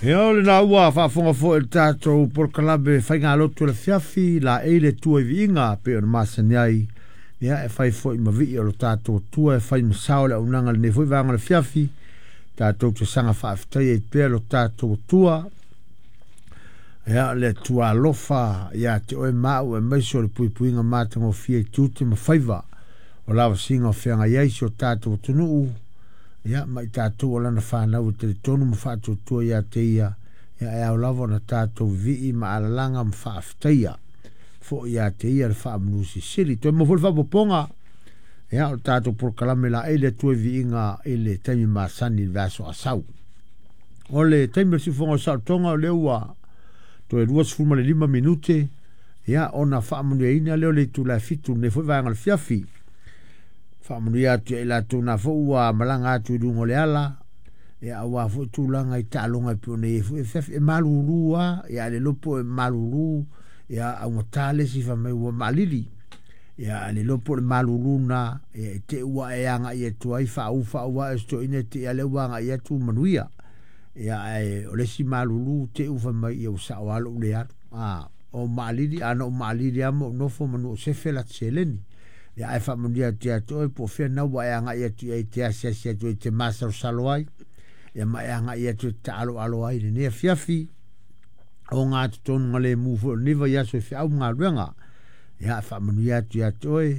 Ia o lena ua faafofoga foi i le tatou polokalame faigalotu o le afiafi laei le Atua i viiga e pei ona masani ai. Ia e fai foi ma vii o lo tatou Atua e fai ma sao le auaunaga i lenei foi vaega o le afiafi. Tatou te saga faafetai ai pea lo tatou Atua. Ia le Atua alofa ia te oe ma au aemaise o le puipuiga matagofie i tiute ma faiva o lavasiga o feagai ai si o tatou atunuu. Ia ma i tatou o lana fanau e talitonu ma faatuatua ia te ia, ia e ao lava ona tatou vivii ma alalaga ma faafetaia foi ia te ia le faamanu silisili. Toe maua foi le faaopoopoga, ia o le tatou polokalame laei le Atua i viiga i le taimi masani i le vaiaso asau. O le taimi o le siufofoga o saolotoga o lea ua toe 25 minute, ia ona faamanuiaina lea o le itula e 7 lenei foi vaega o le fiafi. Faamanuia atu ia i latou na foi ua malaga atu i luga o le ala, ia aua foi tulaga i taaloga e pei ona i ai foi afiafi. E malulu lava, ia ae le iloa po o e malulu, ia augata le isi fai mai ua maalili. Ia ae le iloa po o le malulu lena, ia i te i ua e agai atu ai faaū faaū ae o si toeaina e te i a lea ua agai atu ua manuia. Ia ae o le isi malulu te i ua fai mai ia ua sao lava lou le alu. O maalili, a na ou maalili lava ma ou nofo manu o sefe la ta seleni. Ia ae faamanuia atu ia te oe po o fea na ua e agai atu i ai e te asiasi atu ai e te masalosalo ai, ia ma e agai atu e te taaloalo ai i lenei afiafi o gatotonu lemu foi o lenei vaiaso i feau ma galuega. Ia faamanuia atu ia te oe,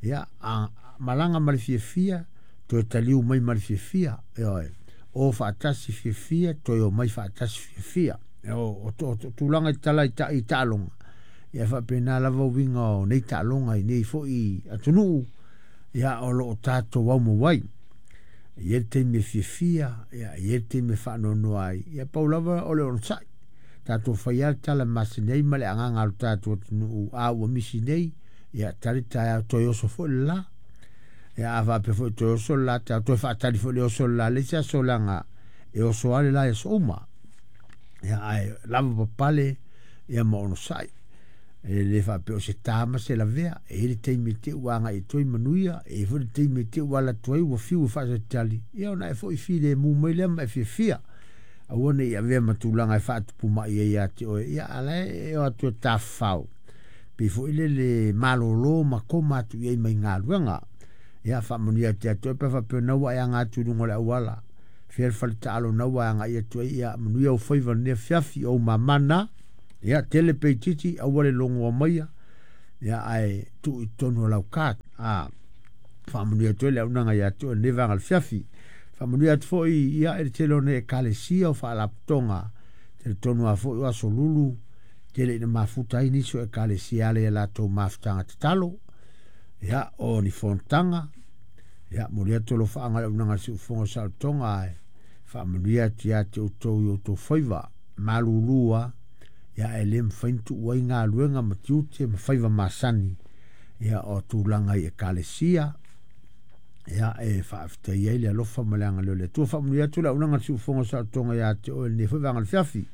ia a malaga ma le fiafia, toe taliu mai ma le fiafia, ioe, o faatasi fiafia, toe o mai faatasi fiafia. O tulaga i tala i taaloga, ia faapena lava uiga o nei taaloga i nei foi atunuu, ia o lo o tatou aumau ai. E i ai le taimi e fiafia, ia e i ai le taimi e faanoanoa ai, ia pau lava o le onosai. Tatou fai lava le tala masani ai ma le agaga o le tatou atunuu, a ua misi nei, ia tali taeao toe oso foi le la. Ia a faapea foi toe oso le la taeao, toe faatali foi le oso le la le isi aso leaga e oso lava le la i aso uma. Ia ae lava papale ia ma onosai. E le faapea o se ta ma se lavea, e i ai le taimi e te ua agai atu ai manuia, e i ai foi le taimi e te ua alu atu ai ua fiu e faatalitali, ia ona e foi filemu mai lea ma e fiafia. Aua ne i avea ma tulaga e faatupu mai ai ia te oe, ia a la e o atu e tafafao, pei foi lele malolo ma koma atu i ai mai galuega. Ia faamanuia atu ia te oe pe faapea na ua e aga atu i luga o le auala, fea le fale taalo na ua e agai atu ai, ia manuia ou faiva i lenei afiafi, o ou mama na. Ia tele pe itiiti, aua le logoa maia, ia ae tuu i totonu o lau card. Faamanuia atu ai le auaunaga ia te oe i lenei vaega o le afiafi. Faamanuia atu foi ia i le tele o nei ekalesia o faalapotopotoga, talitonu lava foi o aso lulu, tele ina mafuta ai nisi o ekalesia e ala i a latou mafutaga tatalo, ia o ni fonotaga, ia momoli atu alofaaga i le auaunaga a le Siufofoga o Saolotoga, ae faamanuia atu ia te outou i outou faiva malulu lava, ia e le mafai ona tuu ai galuega ma tiute ma faiva masani, ia o tulaga i ekalesia, ia e faafetai ai le alofa ma le agalelei o le Atua. Faamanuia atu le auaunaga a le Siufofoga o Saolotoga ia te oe i lenei foi vaega o le afiafi.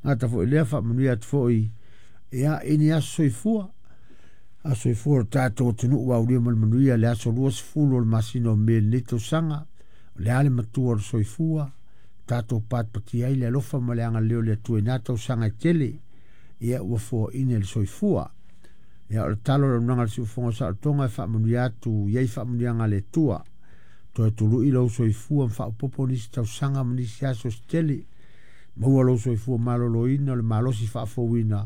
Gata foi lea, faamanuia atu foi ia i ni aso soifua, aso soifua o le tatou atunuu ua aulia ma le manuia le aso 20 o le masina o Me i lenei tausaga. O le a le matua o le soifua, tatou patipatia ai le alofa ma le agalelei o le Atua i na tausaga e tele, ia ua foaina e le soifua. Ia o le talo o le auaunaga a le Siufofoga o Saolotoga e faamanuia atu i ai faamanuiaga a le Atua. Toe tului lou soifua ma faaopoopo nisi tausaga ma nisi aso se tele. Maua lou soifua maloloina o le malosi faafouina,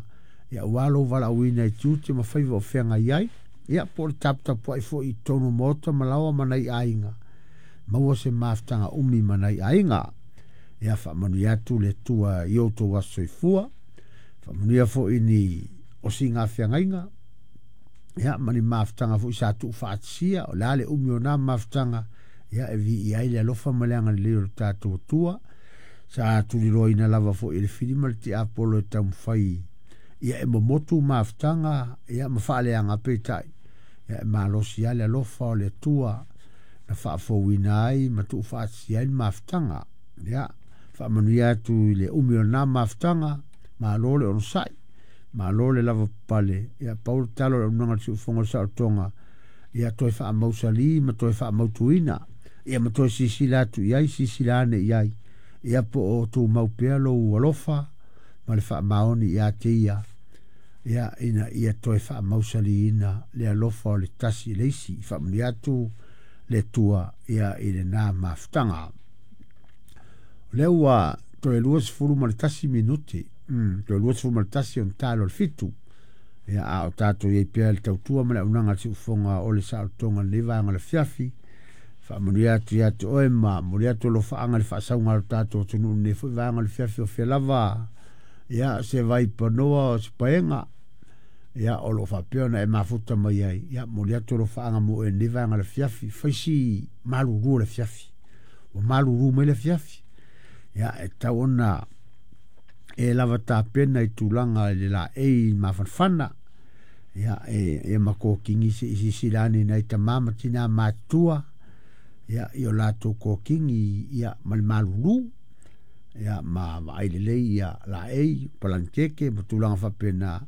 ia aua lou valaauina i tiute ma faiva o feagai ai. Ia po o le taputapuai foi i totonu o maota ma laoa ma nai aiga. Maua se mafutaga umi ma nai aiga. Ia faamanuia atu le Atua i outou aso soifua. Faamanuia foi ni osiga feagaiga, ia ma ni mafutaga foi sa tuufaatasia. O le a le umi o na mafutaga, ia e viia ai le alofa ma le agalelei o le tatou Atua. Sa tuliloaina lava foi e le fili ma le tiapolo e taumafai ia e momotu mafutaga, ia ma faaleaga peitai, ia e malosi lava le alofa o le Atua na faafouina ai ma tuufaatasia ai le mafutaga. Ia faamanuia atu i le umi o na mafutaga, malo le onosai, malo le lava papale. Ia pau le talo o le auaunaga a le Siufofoga o le Saolotoga, ia toe faamausali ma toe faamautuina, ia ma toe silasila atu i ai, silasila ane i ai, Ia po o tumau pea lou alofa ma le faamaoni ia te ia, ia ina ia toe faamausaliina le alofa o le tasi i le isi. Faamanuia atu le Atua ia i lena mafutaga. O lea ua toe 21 minute, toe 21 ona talo le 7. Ia a o tatou i ai pea le tautua ma le auaunaga a le siufofoga o le saolotoga lenei vaega o le afiafi. Faamanuia atu ia te oe ma momoli atu alofaaga i le faasauga a lo tatou atunuu lenei foi vaega o le afiafi o fea lava ia se vaipanoa o se paega ia o lo o faapea ona e mafuta mai ai. Ia momoli atu alofaaga mo oe lenei vaega o le afiafi. Faisi malulu o le afiafi, ua malulu mai le afiafi. Ia e tau ona e lava tapena i tulaga i le laei mafanafana. Ia e makokingi se i silasila ane nai tama ma tina matutua ia i o latou kokingi ia ma le malulu ia ma vaai lelei ia laei palanikeke ma tulaga faapena.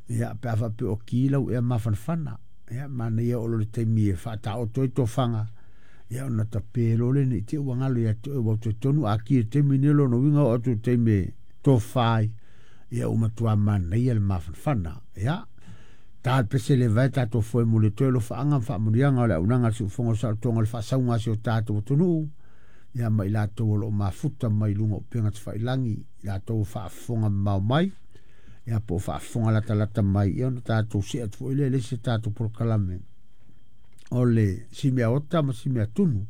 Ia pe a faapea o ki lau ea mafanafana, ia manaia o lo le taimi e faataoto ai tofaga ia ona tape loa lea ne i te i ua galo ia te oe, ua talitonu a ki i le taimi lenei lona uiga oo atu i le taimi e tofa ai ia ua matua manaia le mafanafana. Ia ta le pese le vae tatou foe mo le toe alofaaga ma faamanuiaga o le auaunaga a le siufofoga o le saolotoga o le faasauga a si o tatou atunuu ia ma i latou o lo o mafuta mai luga o upega tafailagi, i latou o faafofoga mamao mai ia po o faafofoga latalata mai, ia ona tatou see atu foi lea i le isi tatou polokalame o le simea ota ma simea tunu.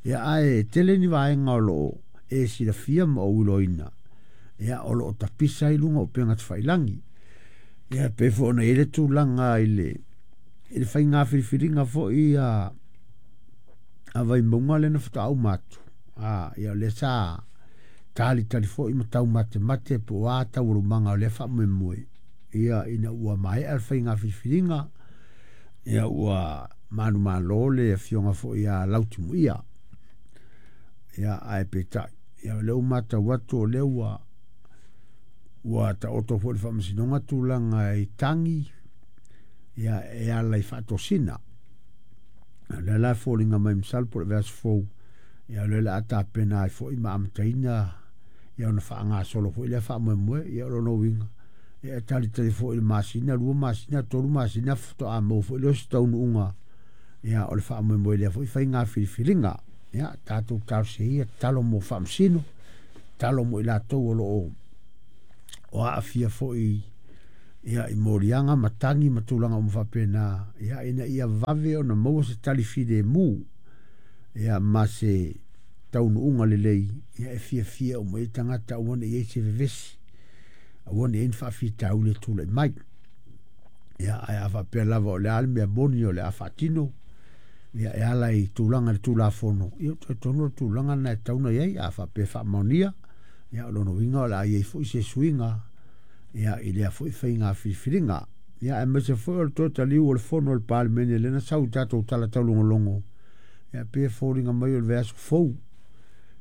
Ia ae tele ni vaega o lo o e silafia ma ou iloaina ia o lo o tapisa ai luga o upega tafailagi. Ia pei foi ona i ai le tulaga i le faiga filifiliga foi a Vaimauga lea na faatoa uma atu. Ia o lea sa talitali foi ma taumatemate po o a taualumaga o lea faamoemoe ia ina ua maea le faiga filifiliga ia ua manumalo le afioga foi ia Lautimuia. Ia ae peitai ia o lea ua matau atu o lea ua taoto foi le faamasinoga tulaga i tagi ia e ala i faatosina. O lea la e foliga mai masalo po o le vaiaso fou ia o lea o le a tapena ai foi ma amataina ia ona faagasolo foi lea faamoemoe. Ia o lona uiga ia e talitali foi i le masina, 2 masina, 3 masina faatoa maua foi lea o se taunuuga ia o le faamoemoe lea foi faiga filifiliga. Ia tatou talosia ia tatalo mo faamasino, tatalo mo i latou o lo o aafia foi ia i moliaga ma tagi ma tulaga uma faapena, ia ina ia vave ona maua se tali filemu ia ma se taunuuga lelei ia e fiafia uma i tagata, aua ne i ai se vevesi, aua ne i ai ni faafitauli e tulai mai. Ia ae a faapea lava o le a le mea moni o le a faatino ia e ala i tulaga i le Tulafono, ia talitonu o le tulaga na e tatau ona i ai. A faapea e faamaonia ia o lona uiga o le a i ai foi se suiga ia i lea foi faiga filifiliga. Ia aemaise foi o le toe taliu o le fono o le Palemene lea na sau i tatou tala taulogologo ia pei e foliga mai o le vaiaso fou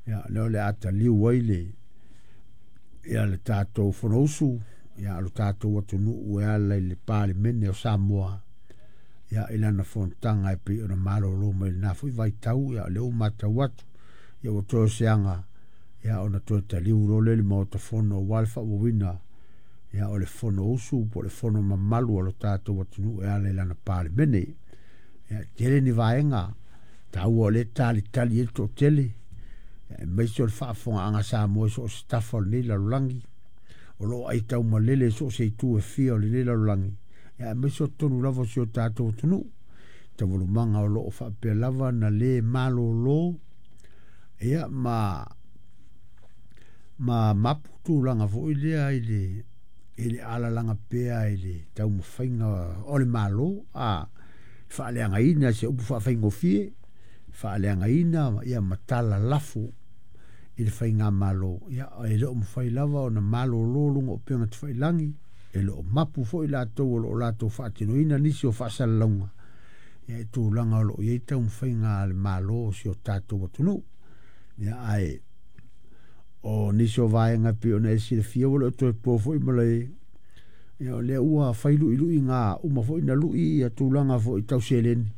ia lea o le a taliu ai le ia le tatou Fonousu ia o le tatou atunuu e ala i le Palemene o Samoa ia i lana fonotaga e pei ona malolo mai lena foi vaitau. Ia o lea ua matau atu ia ua toe o seaga ia ona toe taliu loa lea i le Maota Fono aua le faaauauina ia o le Fonousu po o le fono mamalu o le tatou atunuu e ala i lana Palemene. Ia tele ni vaega taua o lea e talitali ai le toatele, aemaise o le faafofogaaga Samoa i so o se tafa o lenei lalolagi, o lo o aitaumalele i so o se itu e fia o lenei lalolagi, ia aemaise o totonu lava o si o tatou atunuu. Taualumaga o lo o faapea lava na le malolo ia ma mapu tulaga foi lea i le alalaga pea i le taumafaiga o le Malo a faaleagaina se upu faafaigofie, faaleagaina ia matala lafo i le faigamalo. Ia e le o mafai lava ona malolo luga o upega tafailagi, e le o mapu foi latou o lo o latou faatinoina nisi o faasalalauga ia i tulaga o lo o i ai taumafaiga a le Malo o si o tatou atunuu. Ia ae o nisi o vaega pei ona e silafia ua le o toe po foi ma le ia o lea ua fai luiluiga uma foi na lui ia tulaga foi tau seleni.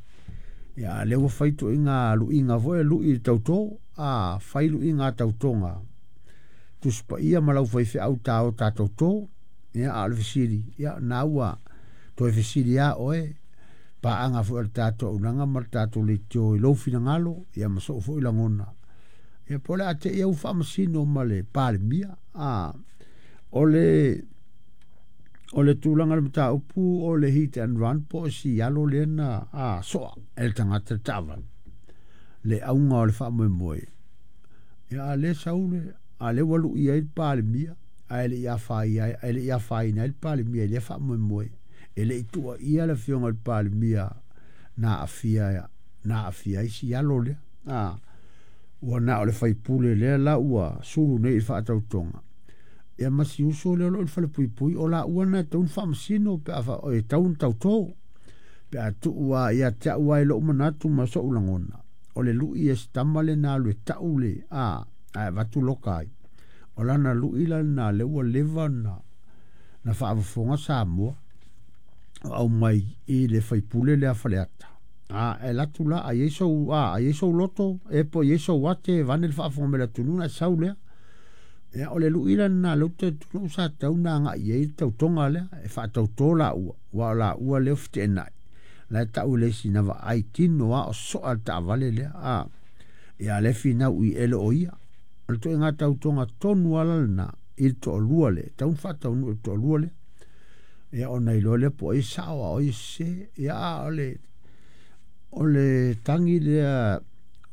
Ia a lea ua fai toiga luiga foi lui i le tauto. a fai luiga a tautoga Tusi Paia ma lau faifeau ta o tatou tō. Ia, a o le fesili, ia, na ua toe fesili lava oe, paaga foi a le tatou auaunaga ma le tatou leitio i lou finagalo, ia ma sou foi lagona. Ia, po o le a te i au faamasino ma le Palemia. A, o le o le tulaga o le mataupu o le hit and run po o si alo lea na a, soa e le tagata le taavale, le auga o le faamoemoe. Ia, a lea sau le, a lea ua lui ai le Palemia, ae le i afaina ai, e le i afaina ai le Palemia i lea faamoemoe. E le i tuuaia le afioga i le Palemia na aafia, na aafia ai si alo lea. A, ua na o le faipule lea la ua sulu nei i le faatautoga. Ia ma si uso lea o lo o i le falepuipui, o laua na e tatau ona faamasino pe a fa, e tatau ona tauto. Pe a tuu lava ia te au lava i lou manatu ma sou lagona, o le lui e si tama lea na alu e tau le, a, ae avatu loka ai. O lana lui la lena lea ua leva ona na faafofoga Samoa o aumai i le faipule lea Faleata. A, e alu atu la, a i ai sou, a, a i ai sou loto, e po i ai sou ate, vaeane le faafofoga mai a le atunuu ona e sau lea. Ia, o le lui la lena lea ou te talitonu'u sa tatau ona agai i ai le tautoga lea, e faatauto laua, aua o laua lea ua feteenai. La e tau e le isi na vaai tino lava o soa le taavale lea, a. Ia, a o lea e finau i e le o ia. O le ituaiga tautoga tonu lava la lena i le toalua lea, e tatau ona faataunuu e le toalua lea. Ia, ona iloa lea po o ai e sao a o ai e sese. Ia, a o le, o le tagi lea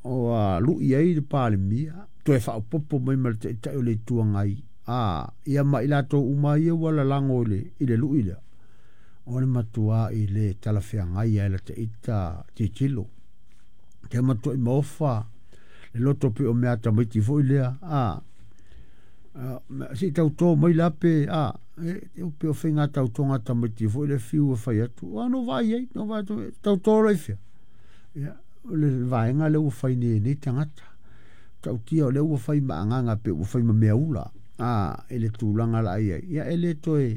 ua lui ai le Palemia, toe faaopoopo mai ma le Taitai o le Itu Agai, a, ia ma i latou uma ia ua lalago i le, i le lui lea, o le matuai le talafeagai lava i lata ita tilotilo. Te matuai maofa le loto pei o mea tamaiti foi lea, a, se i tauto mai la pe, a, e pei o faiga tautoga a tamaiti foi lea fiu e fai atu, a no vaai ai, no vaai atu, tauto loa i fea. Ia, o le vaega lea ua fai nei e nei tagata. Tautia o lea ua fai ma agaga pe ua fai ma mea ula, a, i le tulaga la i ai. Ia, e le toe,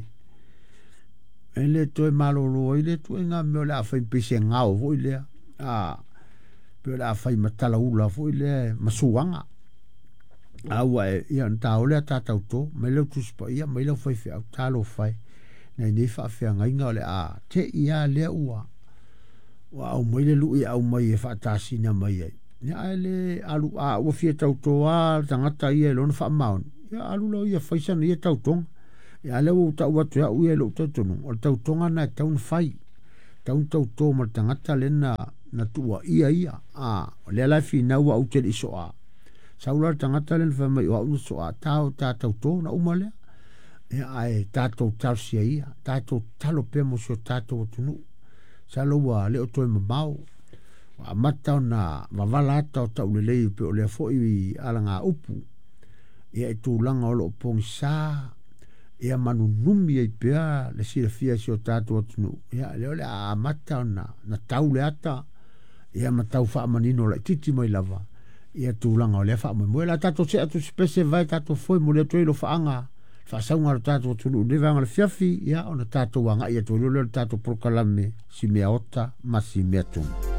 e le toe malolo ai le ituaiga mea o le a fai pei se gao foi lea, a, pei o le a fai ma talaula foi lea ma suaga. A ua e, ia, ona ta o lea ta tauto, mai lau Tusi Paia, mai lau faifeau, talofa e, nai nei faafeagaiga o le a te i lava lea ua, ua aumai le lui e aumai e faatasina mai ai. Ia, ae le alu, a ua fia tauto lava le tagata ia i lona faamaoni, ia alu lea ia fai sana ia tautoga. Ia, a lea ua ou tau atu e au ia i lou talitonuga, o le tautoga lena e tatau ona fai. Tatau ona tauto ma le tagata lea na, na tuuaia ia. A, o lea la e finau au ou te le i soa. Sau la le tagata lea na fai mai o au na soa, ta o ta tauto ona uma lea. Ia, ae tatou talosia ia, tatou tatalo pea mo si o tatou atunuu. Masalo ua le o toe mamao, ua amata ona vavala ata o taulelei pei o lea foi alagaupu. Ia, i tulaga o lo o pogisa, ia ma nunumi ai pea le silafia e si o tatou atunuu. Ia, lea o le a amata ona na tau le ata, ia ma tau faamanino laitiiti mai lava ia tulaga o lea faamoemoe. O le a tatou see atu i se pese vae tatou foe moli atu ai alofaaga le faasauga a lo tatou atunuu i lenei vaega o le afiafi, ia ona tatou agai atu ai loa lea i le tatou polokalame Si Mea Ota ma Si Mea Tunu.